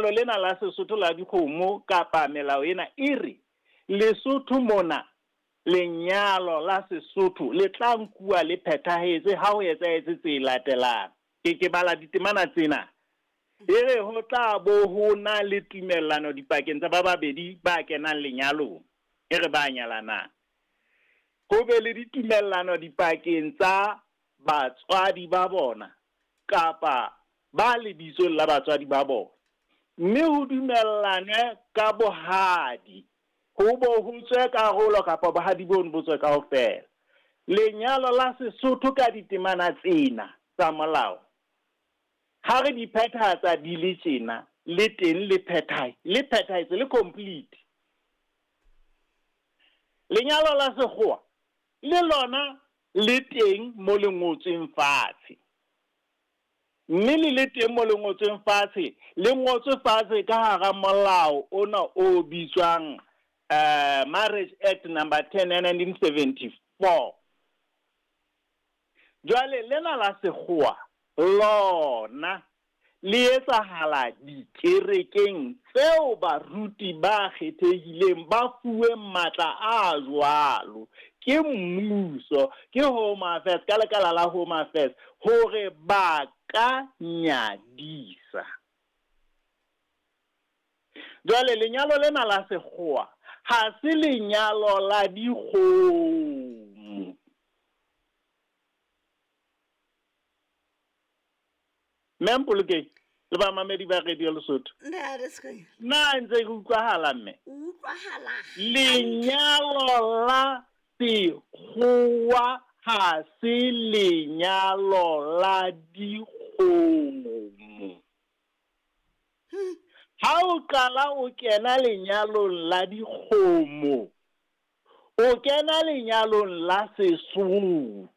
Lenyalo lena la Sesotho la dikgomo kapa melao ena e re Lesotho mona lenyalo la Sesotho le tla nkuwa le phethahetse ha ho etsahetse tse latelang. Ke bala ditemana tsena. E re ho tla bo ho na le tumellano dipakeng tsa ba babedi ba kenang lenyalong, e re ba nyalanang. Ho be le ditumellano dipakeng tsa batswadi ba bona kapa ba lebitsong la batswadi ba bona, mme ho dumellanwe ka bohadi, ho bo ho tswe karolo kapa bohadi bono bo tswe kaofela. Lenyalo la Sesotho ka ditemana tsena tsa molao, ha re di phethahatsa di le tjena, le teng le le phethahetse, le complete. Lenyalo la sekgowa le lona le teng mo le ngotsweng fatshe, mme le le teng mo le ngotsweng fatshe, le ngotswe fatshe ka hara molao ona o bitswang Marriage Act number 10 ya 1974. Jwale lena la sekgowa lona le etsahala dikerekeng tseo baruti ba kgethehileng ba fuweng matla a jwalo ke mmuso, ke Home Affairs, ka lekala la Home Affairs, hore ba ka nyadisa. Jwale lenyalo lena la sekgowa ha se lenyalo la dikgomo. Mme Mpolokeng le bamamedi ba Radio Lesotho. Na ntse ke utlwahala mme? Utlwahala. Lenyalo la sekgowa ha se lenyalo la dikgomo. Ha o qala o kena lenyalong la dikgomo, o kena lenyalong la Sesotho.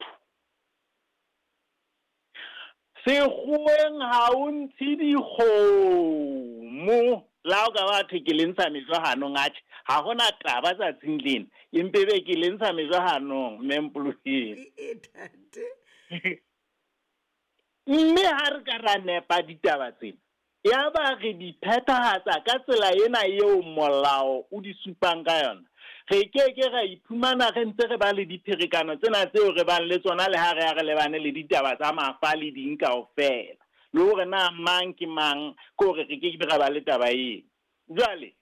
Sekgoweng ha o ntshe dikgomo. La o ka ba thwe ke le ntsha mejo hanong, atjhe, ha hona taba tsatsing lena, empe be ke le ntsha mejo hanong, mme Mpolokeng. Mme ha re ka ra nepa ditaba tsena, yaba re di phethahatsa ka tsela ena eo molao o di supang ka yona, re ke ke ra iphumana re ntse re ba le dipherekano tsena tseo re bang le tsona le ha re ya re lebane le ditaba tsa mafa le ding kaofela, le hore na mang ke mang, ke hore re ke ke ra ba le taba eo. Jwale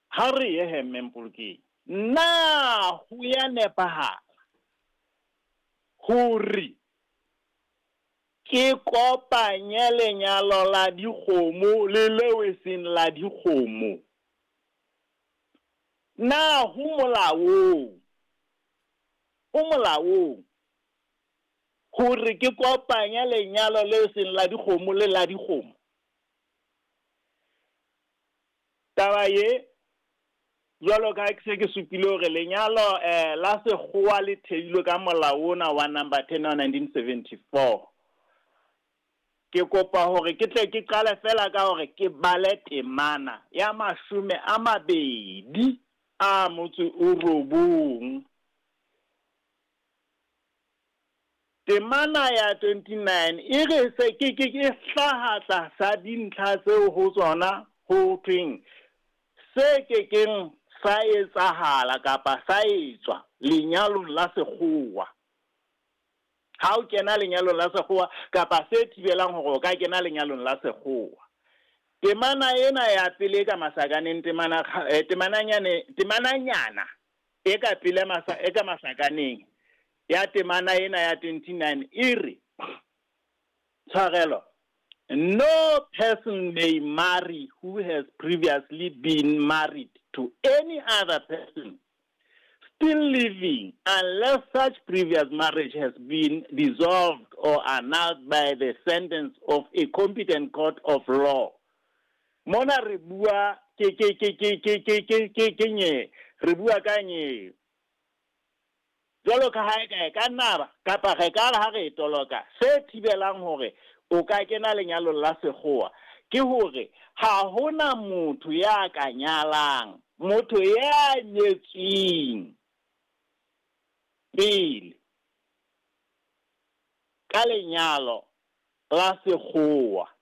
ha re ye he, mme Mpolokeng, na ho ya nepahala hore ke kopanye lenyalo la dikgomo le leo e seng la dikgomo? Na ho molaong, ho molaong hore ke kopanye lenyalo le seng la dikgomo le la dikgomo? Taba ye, jwalo ka ha ke se ke supile hore lenyalo la sekgowa le theilwe ka molao ona wa number 10 wa 1974. Ke kopa hore ke tle ke qale fela ka hore ke bale temana ya 29. Temana ya 29 e re se ke ke ke hlaha tlasa dintlha tseo ho tsona ho thweng se ke keng sa etsahala kapa sa etswa lenyalong la sekgowa. Ha o kena lenyalong la sekgowa kapa se thibelang hore o ka kena lenyalong la sekgowa. Temana ena ya pele ka masakaneng, temana temananyana e ka pele e ka masakaneng ya temana ena ya 29 e re, tshwarelo, no person may marry who has previously been married to any other person still living unless such previous marriage has been dissolved or annulled by the sentence of a competent court of law. Mona re bua ke ke ke ke ke ke ke ke ke nye, re bua ka nye. Jwalo ka ha e ka e ka nna kapa re ka ha re toloka se thibelang hore o ka kena lenyalong la sekgowa ke hore ha hona motho ya ka nyalang motho ya nyetsweng pele ka lenyalo la sekgowa.